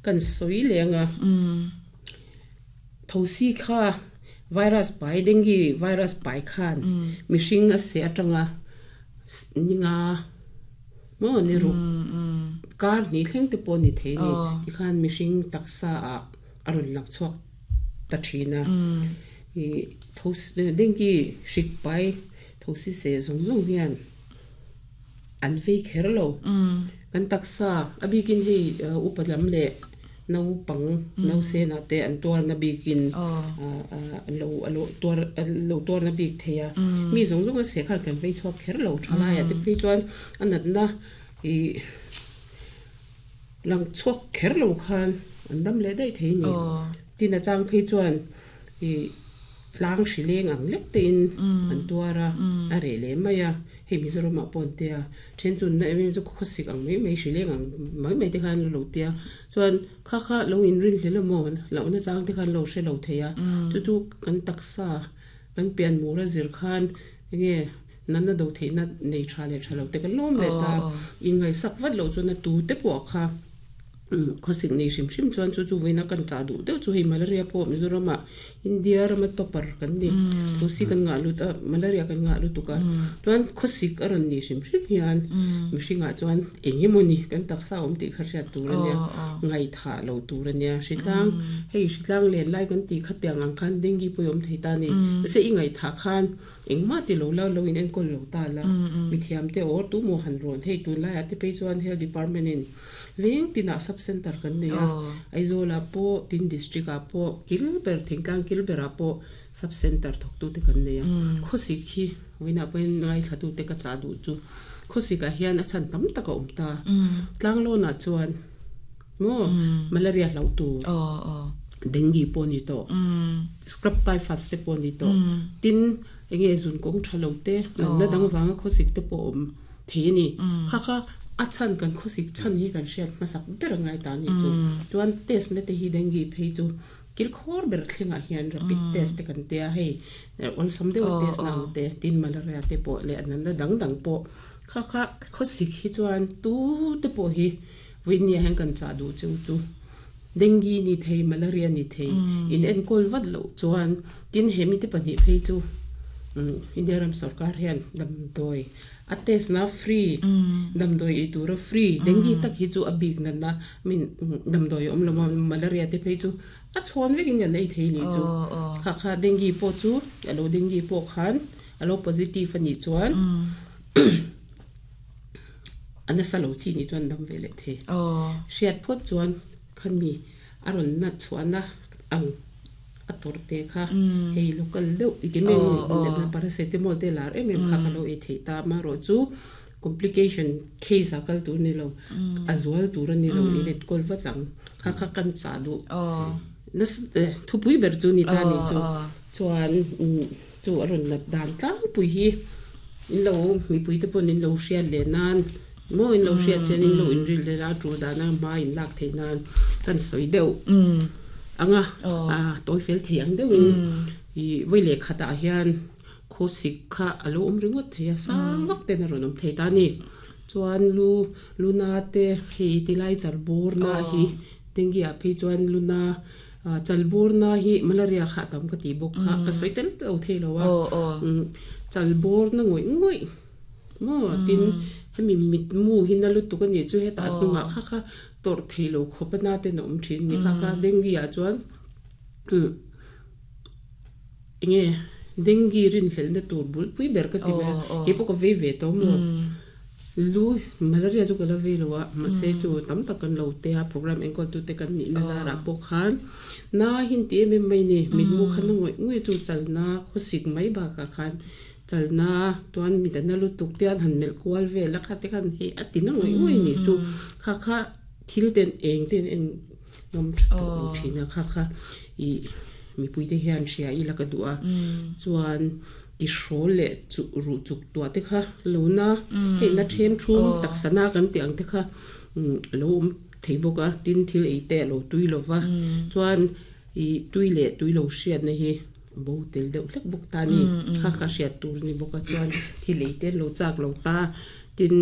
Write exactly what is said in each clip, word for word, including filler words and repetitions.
Kan soi lenga thosi kha virus pai dengue virus pai khan mihring a se atanga ninga mo ni ru kar ni thleng te pawh ni thei ni tikhan mihring taksa a arun lak chuak ta thina i thosi dengue hrik pai thosi se zong zong hian an vei kher lo kan taksa abikin hei upalam le nau pang nau se na te an tuar na bikin lo lo tuar lo tuar na bik theia mi zong zong a se khal kan vei chuak kher lo thalai a te phei chuan anat na i lang chuak kher lo khan an dam le dai thei ni tin a chang phei chuan i tlang hrileng ang lek te in an tuara a re le mai a hei Mizoram ah pawh an tia then chu na em em chu khawsik ang mai mai hrileng ang mai mai te khan lo tia chuan kha kha lo in rin hle maw lo na chang te khan lo hre lo thei a chu chu kan taksa kan pian mura zir khan enge nan na do thei na nei tha le tha lo te kan lawm le ta in ngai sak vat lo chuan a tu te pawh kha khawsik nei hrim hrim chuan chu chu veina kan cha duh deuh chu hei malaria pawh Mizoram ah India rama topper kan ni thosi kan ngah lut a malaria kan ngah lutuk a chuan khawsik a rawn ni hrim hrim hian mihringah chuan eng emaw ni kan taksa awm tih kha hriat tur ania ngai tha lo tur ania hritlang hei hritlang len lai kan ti kha tiang ang khan dengue pawh awm thei ta ni se i ngai tha khan engmah ti lo la lo in enkawl lo ta la mi thiam te or tu maw han rawn hei tun lai ah te phei chuan health department in veng tinah sub center kan nei a Aizawl ah pawh tin district ah pawh kil ber thingtlang kil ber ah pawh sub center thawk tu te kan nei a khawsik hi vawiinah pawhin ngai thla tu te ka chah duh chu khawsik ah hian a chhan tam tak a awm ta tlang lawn ah chuan maw malaria hlauh tur dengue pawh ni tawh scrub typhus te pawh ni tawh tin enge zun kawng tha lo te natna dang vanga khawsik te pawh awm thei ani kha kha a chan kan khawsik chan hi kan hriat hmasak ber angai ta ni chu chuan test na te hi dengue phei chu kil khawr ber thlengah hian rapid test te kan tia hei awlsam deuh test na ang te tin malaria te pawh leh natna dang dang pawh kha kha khawsik hi chuan tu te pawh hi vawinia hian kan chah duh cheu chu dengue ni thei malaria ni thei in enkawl vat lo chuan tin hemi te pahnih phei chu India ram sarkar hian damdawi a test na free damdawi ei tura free dengue tak hi chu a bik na na min damdawi awm lo malaria te phei chu a chhawn vekin kan ei thei ni chu kha kha dengue pawh chu alo dengue pawh khan alo positive ani chuan ana sa lo chi ni chuan dam ve le thei hriat phawt chuan khan mi a rawn na chhuahna ang a tor te kha hei local deuh i ti meng na paracetamol te lar em em kha ka lo ei thei ta ma ro chu complication case a kal tur ni lo a zual tur ani lo i let kol vatang kha kha kan cha du na thupui ber chu ni ta ni chu chuan chu a rawn nat dan tlang pui hi in lo mi pui te pawh in lo hriat le nan mo in lo hriat chen in lo in ril le la tu dan a ma in lak thei nan kan soi deuh anga a toi fel thei ang deuh in i voi le khata hian khawsik kha alo awm ringawt thei a sang vak ten a rawn awm thei ta ni chuan lu luna te hei tilai chalbur na hi dengue ah phei chuan luna chalbur na hi malaria kha tam ka ti bawk kha ka sawi tel lo thei lo a chalbur na ngawih ngawih mo tin hemi mit mu hi na lutuk ani chu heta hnungah kha kha tor thei lo khawp na te na awm thin ni kha kha dengue ah chuan enge dengue rin hlel na tur bul pui ber ka ti ve ke pawh ka vei ve to mo lu malaria chu ka la vei lo a mahse chu tam tak kan lo te a program enkawl tu te kan nih na zarah pawh khan na hin ti em em mai ni mit mu khan na ngawih ngawih chu chalna khawsik mai bakah khan chalna tuan mi na lutuk te an han melh kual vel a kha te khan hei a ti na ngawih ngawih ni chu kha kha thil ten eng ten en ngam tha tawh lo thin a kha kha i mi pui te hian hria i la ka duh a chuan ti hrawl le chu ru chuk tua te kha lo na hei na them thum taksana kan ti ang te kha lo awm thei bawk a tin thil ei te lo tui lova chuan i tui le tui lo hriat na hi bo tel deuh hlek bawk ta ni kha kha hriat tur ni bawk a chuan thil ei te lo chak lo ta tin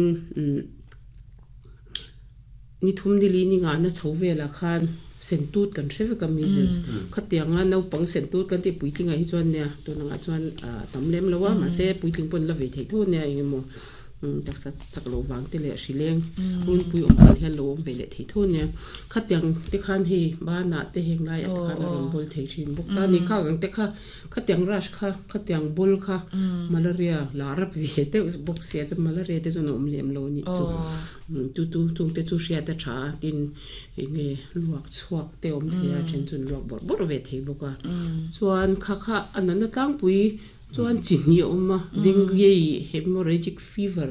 Ni thum ni li ni nga na chho vela khan sentut kan hreve ka measles khatianga no pang sentut kan ti puitlinga hi chuan nia tunanga chuan tam lem lowa ma se puitling pon la ve thei tho nia engemaw taksa chaklo wang te le hrileng run pui om kan hian lo om ve le thei tho nia khatiang te khan hi ba na te heng lai at khan ron bol thei thin bok ta ni kha ang te kha khatiang rash kha khatiang bol kha malaria la rap ve te bok sia chu malaria te chu om lem lo ni chu chu chu chung te chu ria ta tha tin nge luak chuak te om thea then chun luak bor bor ve thei boka chuan kha kha anana tlang pui chuan chini oma dengue hemorrhagic fever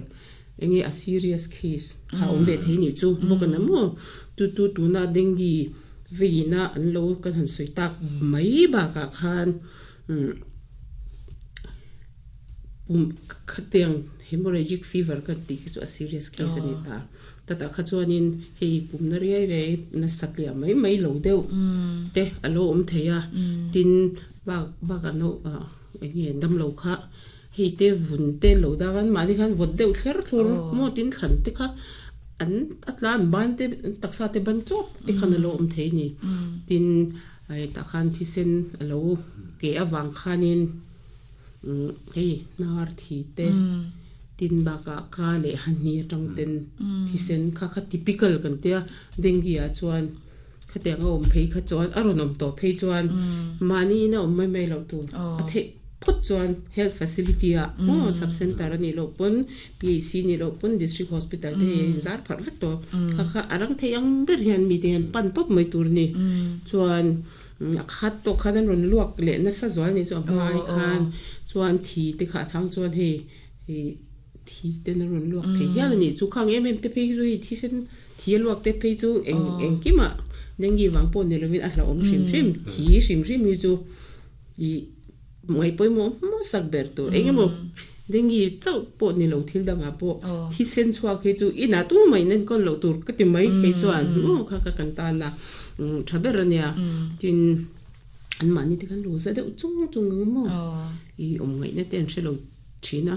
enge a serious case kha om ve thei ni chu bokana mo tu tu tu na dengue veina an lo kan han soi tak mai ba ka khan um khateng hemorrhagic fever kan ti chu a serious case ani ta ta ta kha chuanin hei pumna riai rei na satlia mai mai lo deuh te alo om theia tin ba ba ka no enge dam lo kha hei te vun te lo da kan mani khan vot deuh thler thlur mo tin khan te kha an atlan ban te taksa te ban chop te khan alo om thei ni tin ai ta khan thi sen alo ke awang khanin hei nar thi te tin ba ka ka le han ni atang ten thi sen kha kha typical kan tia dengue a chuan khatiang om phei kha chuan aron om to phei chuan mani na om mai mai lo tu a the phot chuan health facility a mo sub center ani lo pon P A C ni lo pon district hospital te zar phar vek to kha kha arang theiang ber hian mi te hian pan top mai tur ni chuan a khat to khan ron luak le na sa zwal ni chu a hmai khan chuan thi te kha chang chuan hei thi te na ron luak thei hian ani chu khang em em te phei chu thi sen thi luak te phei chu eng eng kima dengue wang pon ni lovin a hla om hrim hrim thi hrim hrim hi chu i mai poi mo mo sak ber tu engemaw dengue chau po ni lo thil danga po thi sen chuak hi chu ina tu mai nen kon lo tur ka ti mai hei chuan mo kha ka kan ta na thaber ania tin an mani te kan lo za deuh chung chung mo i om ngai na ten hrelo thina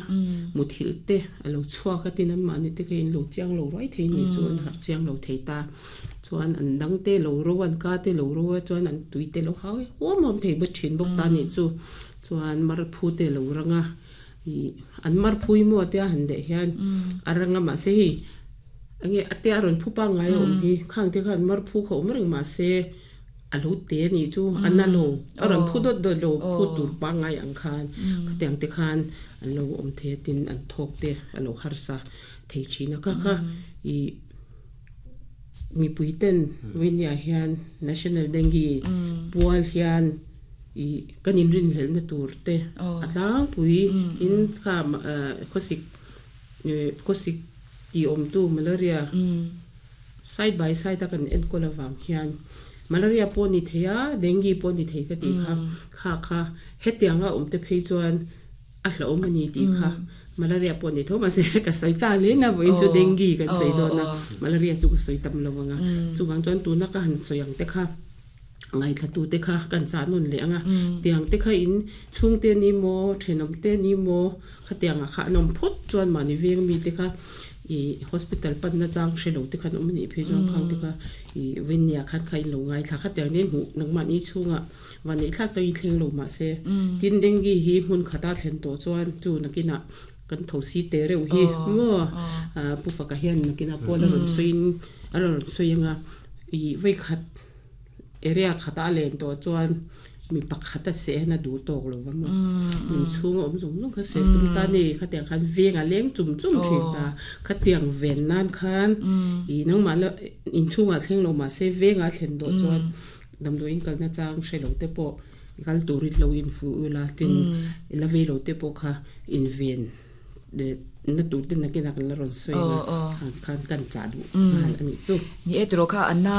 muthil te alo chuak tin an mani te khain lo chiang lo rai thei ni chu an har chiang lo thei ta chuan an dang te lo ro an ka te lo ro chuan an tui te lo hawi hom hom thei bot thin bok ta ni chu chuan mar phu te lo ranga i an mar phui mo te han de hian aranga ma se hi ange ate aron phu pa ngai om hi khang te khan mar phu kho mreng ma se alo te ni chu analo aron phu dot dot lo phu tur pa ngai ang khan khatiang te khan an lo om the tin an thok te alo harsa thei thina ka kha i mi puiten winia hian national dengue pual hian i kanin rin hel na tur te atlang pui in kha khosik khosik ti om tu malaria side by side ta kan en kolawang hian malaria po ni theya dengue po ni thei ka ti kha kha kha hetianga om te phei chuan a hlo mani ti kha malaria po ni tho ma se ka soi cha le na voin chu dengue kan soi do na malaria chu ka soi tam lawanga chuwang chuan tu na ka han soyang te kha ngai thla tu te kha kan cha nun le anga tiang te kha in chung te ni mo thenom te ni mo kha tianga kha nom phut chuan mani veng mi te kha i hospital pan na chang hrelo te khan om ni phe chuan khang te kha i winia khan khai lo ngai thla kha tiang ne mu nangma ni chunga wani thlak ta in thleng lo ma se tin dengue hi hmun khata thlen to chuan chu nakina kan thosi te reu hi mo pu faka hian nakina pola ron soin aron soinga i vai khat area khata len to chuan mi pakhata se na du tok lo wa mo in chung om zong zong kha se tum ta ni khatiang khan venga leng chum chum thin ta khatiang ven nan khan i nang ma la in chunga thleng lo ma se venga thlen do chuan dam do in kal na chang hrelo te po kal turit lo in fu ula tin la ve lo te po kha in ven de na tu tin na kina kan la ron soi na khan khan kan cha du han ani chu ni e tro kha anna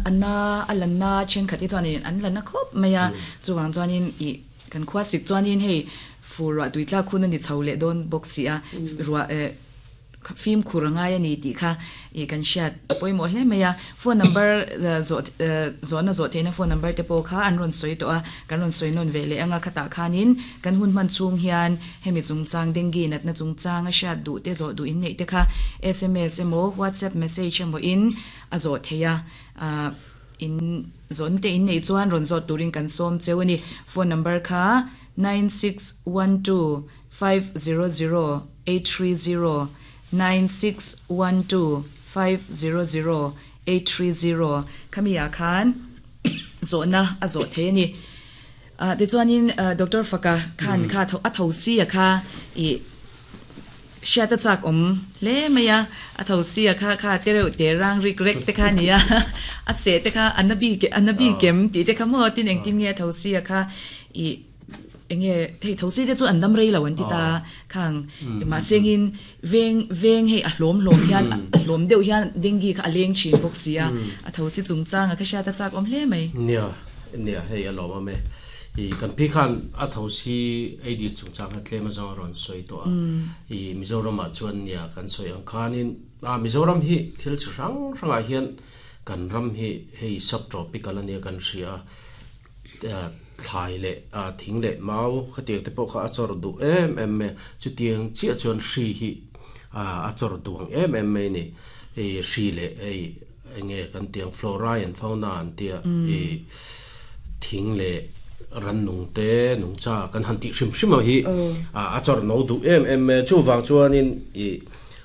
anna alanna chen khati chuan in an lana khop maya chuwang chuan in i kan khwa sik chuan in hei fu ra tuitla khun ani chhole don box si a ruwa e Film khurangai ani ti kha e kan shat poimo hle meya phone number zo zo na zo theina phone number te po kha an ron soi to a kan ron soi non vele anga khata khanin kan hun man chung hian hemi chung chang dengue nat na chung chang a shat du te zo du in nei te kha S M S emo WhatsApp message emo in a zo theya a in zon te in nei chuan ron zo turin kan som chewani phone number kha nine six one two five zero zero eight three zero nine six one two five zero zero eight three zero khamia khan zona a zo the ni a te chuanin Doctor Faka khan kha tho a tho si a kha i shata chak om le maya a tho si a kha kha te reu te rang rik rek te kha nia a se te kha anabi ke anabi kem ti te kha mo tin eng tin nge tho si a kha i enge hei tho si te chu an dam rei lo an ti ta khang ma chengin veng veng hei a hlom hlom hian a hlom deuh hian dengue kha a leng thin bawk sia a tho si chung chang a kha sha ta chak om hle mai nia nia hei a lawm ame i kan pi khan a tho si Aedes chung chang a tlema zawng ron soi to a i Mizoram ah chuan nia kan soi ang khanin a Mizoram hi thil chi hrang hrangah hian kan ram hi hei subtropical ania kan hria thlai le a thing le mau khatiang te pawh kha a chawr duh em em mai chutiang chiah chuan hri hi a a chawr duang em em mai ni e hri le ei enge kan tiang flora and fauna an tia e thing le ran nung te nung cha kan han ti hrim hrim a hi a a chawr no duh em em mai chu wang chuanin i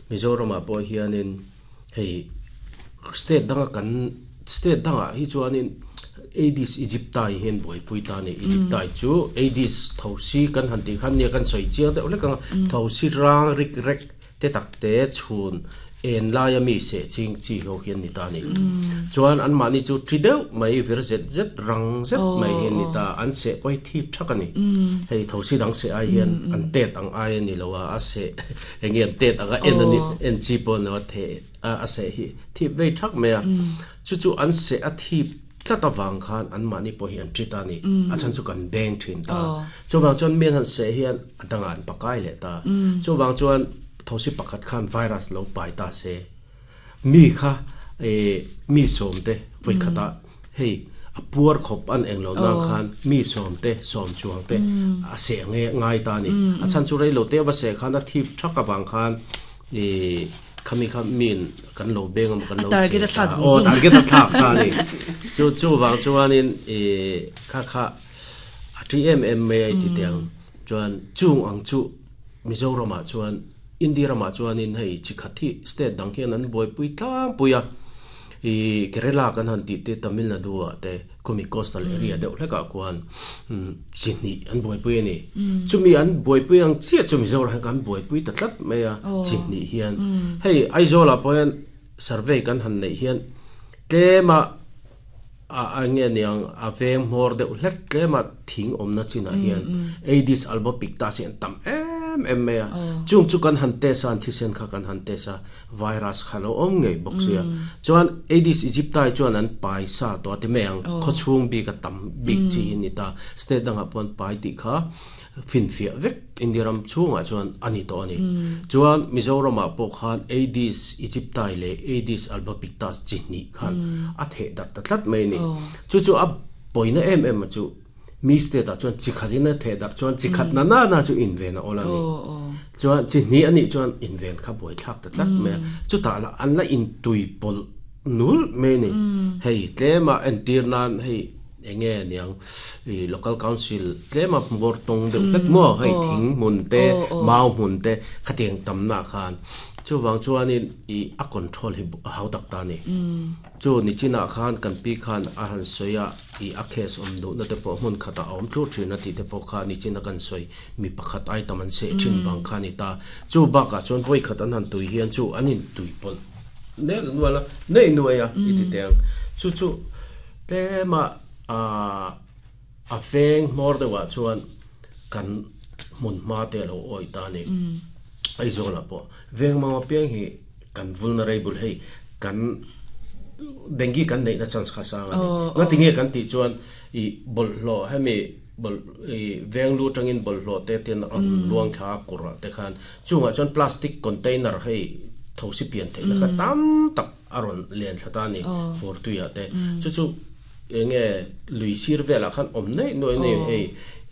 Mizoram ah pawh hianin hei state danga kan state danga hi chuanin Aedes aegypti hian buaipui ta ni aegypti chu Aedes thosi kan han ti khan nia kan soi chiang deuh hlek anga thosi rang rik rek te tak te chhun en laia mi se ching chi ho hian ni ta ni chuan an mahni chu thi deuh mai vir zet zet rang zet mai hian ni ta an se pawh thip thak ani hei thosi dang se ai hian an tet ang ai ani lo a a se enge an tet anga en ani en chi pawh no the a se hi thip vei thak mai a chu chu an se a thip tlata wang khan an mani pawh hi an thita ni a chan chu kan beng thin ta chuwang chuan mian han se hian adanga an pakai le ta chuwang chuan thosi pakhat khan virus lo pai ta se mi kha e mi som te voi khata hei a puar khop an englo na khan mi som te som chuang te a se nge ngai ta ni a chan chu rei lo te wa se khan a thip thaka wang khan e khami kha min kan lo beng am kan lo target a thlak o target a thlak ta ni chu chu wang chuanin e kha kha a T M M mai ai ti tiang chuan chung ang chu Mizoram ah chuan India ramah chuanin hei chi khathi state dang hian an buaipui tlang puia i Kerala kan han ti te Tamil Nadu ah te khumi coastal area deuh hlekah khuan chihni an buaipui ani chumi an buaipui ang chiah chu Mizoram kan buaipui ta tlat mai a chihni hian hei Aizawl ah pawh hian survey kan han nei hian tlema a ange niang a veng hmawr deuh hlek tlema thing awmna chinah hian Aedes albopictus hi an tam em em mai a chung chu kan han test a an thisen kha kan han test a virus kha lo awm ngei bawk sia chuan Aedes aegypti chuan an pai sa to a ti mai ang khawchhung bik a tam bik chi hi ni ta state dangah pawh an pai tih kha fin fiah vek India ram chhungah chuan ani to ani chuan Mizoram ah pawh khan Aedes aegypti le Aedes albopictus chi hnih khan a theh darh ta tlat mai ni chu chu a pawina em em a chu mi state ah chuan chi khatin a theh darh chuan chi khat na na na chu inven a awla ni chuan chi hnih ani chuan inven kha buai thlak ta tlat mai a chu tah lah an la intui pawlh nul mai ni hei tlema entir nan hei enge niang i local council tlema hmawr tawng deuh hlek maw hei thing hmun te mau hmun te khatiang tamna khan chuwang chuanin i a control hi hau tak ta ni chu ni chinah khan kan pi khan a han soia i a case awm duh na te pawh hmun khata a awm thlur thin a tih te pawh kha ni china kan sawi mi pakhat ai tam an se thin bang kha ni ta chu bakah chuan voi khat an han tui hian chu an in tui pawlh ne nuala nei nuai a i ti teng chu chu tlema a a veng hmawr deuhah chuan kan hmun hma te lo awi ta ni Aizawl ah pawh veng manga piang hi kan vulnerable hei kan dengue kan neihna chance kha sang ani nga tinge kan tih chuan i bawlhhlawh hemi bol i veng lu tangin bawlhhlawh te ten an luang thla kurah te khan chungah chuan plastic container hei thosi pian thei la kha tam tak aron len thlata ni for tuya te chu chu enge lui sir vela khan om nei noi nei hei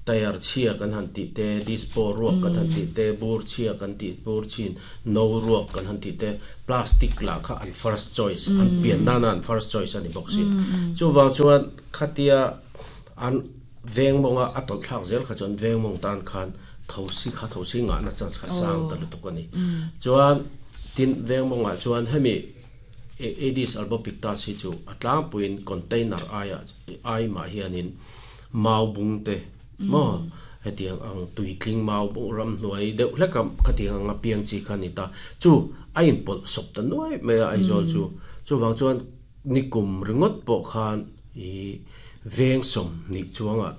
tayar chia kan han ti te dispo ruak kan han ti te bur chia kan ti bur chin no ruak kan han ti te plastic la kha an first choice an pian na na an first choice ani box hi chu wang chuan khatia an veng monga atol thak zel kha chuan veng mong tan khan thosi kha thosi nga na chance kha sang ta lu tuk ani chuan tin veng monga chuan hemi Aedes albopictus hi chu atlang puin container aia ai ma hianin mau bung te mo hetiang ang tuitling mau bung ram hnuai deuh hlek a khatiang anga piang chi kha ni ta chu a in pawlh sawp ta nuai mai a Aizawl chu chu wang chuan nikum ringot pawh khan i veng som ni chuanga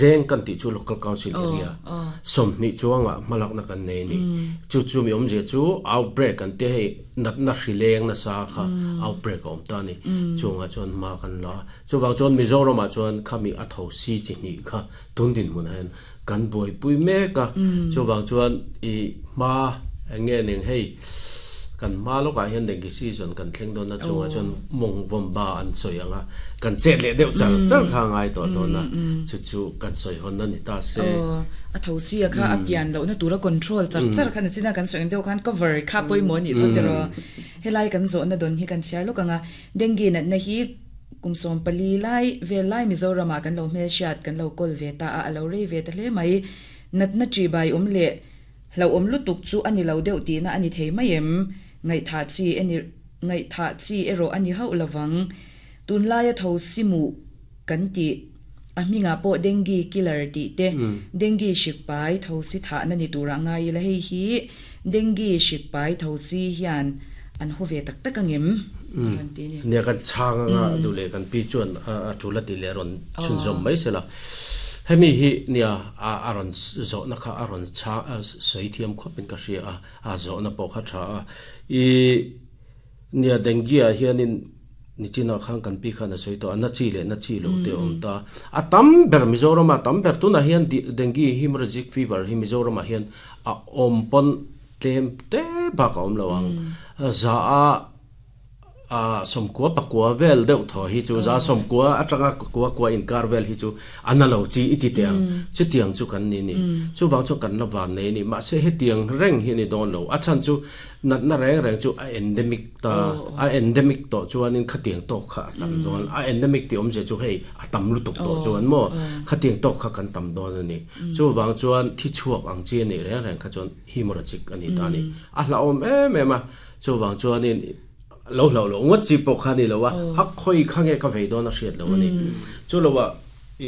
veng kan ti chu local council area som ni chuanga malak na kan nei ni chu chu mi om je chu outbreak kan te hei nat na hrileng na sa kha outbreak om ta ni chunga chuan ma kan la chu wang chuan Mizoram ah chuan khami a tho si chi ni kha tun din mun hen kan boi pui me ka chu wang chuan i ma nge ning hei kan ma lo ka hian dengue season kan thleng don na chunga chuan mong vom ba an soi anga kan chet le deuh char char kha ngai to to na chu chu kan soi hon na ni ta se a tho si a kha a pian lo na tura control char char khan china kan soi deuh khan cover kha poi mo ni chu tero helai kan zo na don hi kan chiar lo kanga dengue na na hi kumsom pali lai ve lai Mizoram kan lo hmel shiat kan lo kol ve ta a lo re ve ta hle mai nat na chi bai om le lo om lu tuk chu ani lo deuh ti na ani thei mai em ngai tha chi ani ngai tha chi ero ani hau lawang tun lai a tho simu kan ti a minga po dengue killer ti te dengue shik pai tho si tha na ni tura ngai la hei hi dengue shik pai tho si hian an ho ve tak tak angem kan ti ni ne kan chang nga du le kan pi chuan a thula ti le ron chun zom mai sela hemi hi nia a aron zo na kha aron cha sei thiam khopin ka ria a a zo na pawh kha tha a i nia dengue a hianin nichina khang kan pi khana sei to na chi le na chi lo te om ta a tam ber Mizoram a tam ber tuna hian dengue hemorrhagic fever hi Mizoram a hian a om pon tlem te ba ka om lawang za a a som kwa pakwa vel deuh tho hi chu za som kwa atanga kwa kwa in kar vel hi chu analo chi iti tiang chu tiang chu kan ni ni chu bang chu kan la van nei ni ma se he tiang reng hi ni don lo a chan chu nat na reng reng chu a endemic ta a endemic to chuan in khatiang to kha tam don a endemic ti om je chu hei a tam lu tuk to chuan mo khatiang to kha kan tam don ani chu wang chuan thi chuak ang chi ni reng reng kha chuan hemorrhagic ani ta ni a hla om em em a chu wang chuan in lo lo lo ngot chi pok khani lo wa a khoi khange ka vei don a hriat lo ani chu lo wa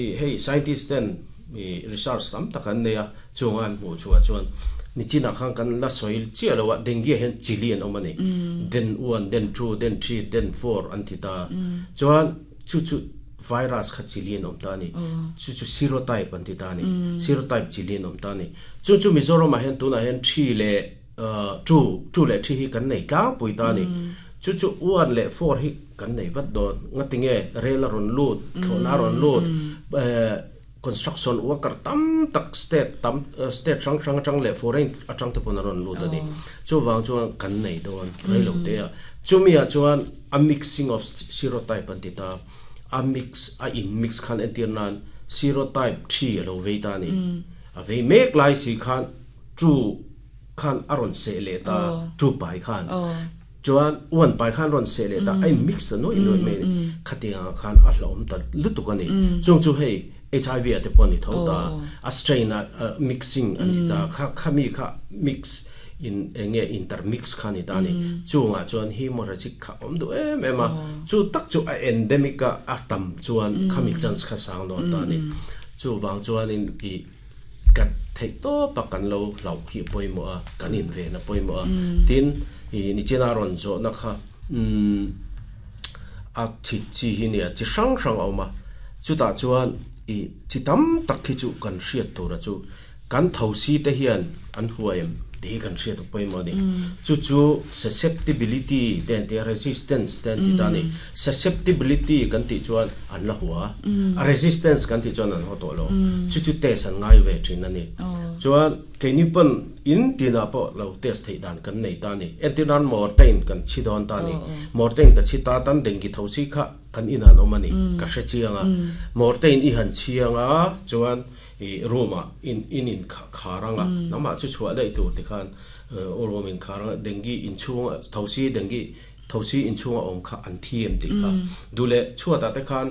i hei scientist ten mi research tam takan ne a chungan mu chua chuan ni china khang kan la soil chi lo wa dengue hen chili an omani den one den two den three den four an ti ta chuan chu chu virus kha chili an om ta ni chu chu serotype an ti ta ni serotype chili an om ta ni chu chu Mizoram a hen tuna hen three le two two le three hi kan nei tlang pui ta ni chu chu one le four hi kan nei vat don ngatinge rail ron lut thona ron lut construction worker tam tak state tam state rang rang atang le foreign atang te pon ron lut ani chu wang chuan kan nei don reilo te a chumi a chuan a mixing of serotype an ti ta a mix a in mix khan entir nan serotype three alo vei ta ni a vei mek lai si khan chu khan aron se le ta chu pai khan chuan uan pai khan ron se le ta ai mix ta noi noi me khatia khan a hlom ta lutuk ani chung chu hei H I V ate pon ni tho ta a strain a mixing ani ta kha khami kha mix in enge intermix khan ni ta ni chunga chuan hemorrhagic kha om du em em a chu tak chu a endemic a atam chuan khami chance kha sang no ta ni chu wang chuan in i kat thei to pakan lo lo hi poimo a kanin ve na poimo a tin i ni chena ron zo na kha um a chi chi hi ni a chi sang sang oma chu ta chuan i chi tam tak khi chu kan hriat tura chu kan tho si te hian an huaim ti kan hriat poimo ni chu chu susceptibility ten te resistance ten ti ta ni susceptibility kan ti chuan an la huwa a resistance kan ti chuan an ho to lo chu chu te san ngai ve thin ani Chuan keini pon in tina po lo test thei dan kan nei ta ni. Entinan mortain kan chi don ta ni. Mortain ka chi ta tan dengi thosi kha kan inan omani ka hre chianga. Mortain i han chianga chuan i roma in in in kharanga nama chu chua dai tu ti khan o rom in kharanga dengi in chunga thosi dengi thosi in chunga om kha an thiem ti kha dule chua ta te khan.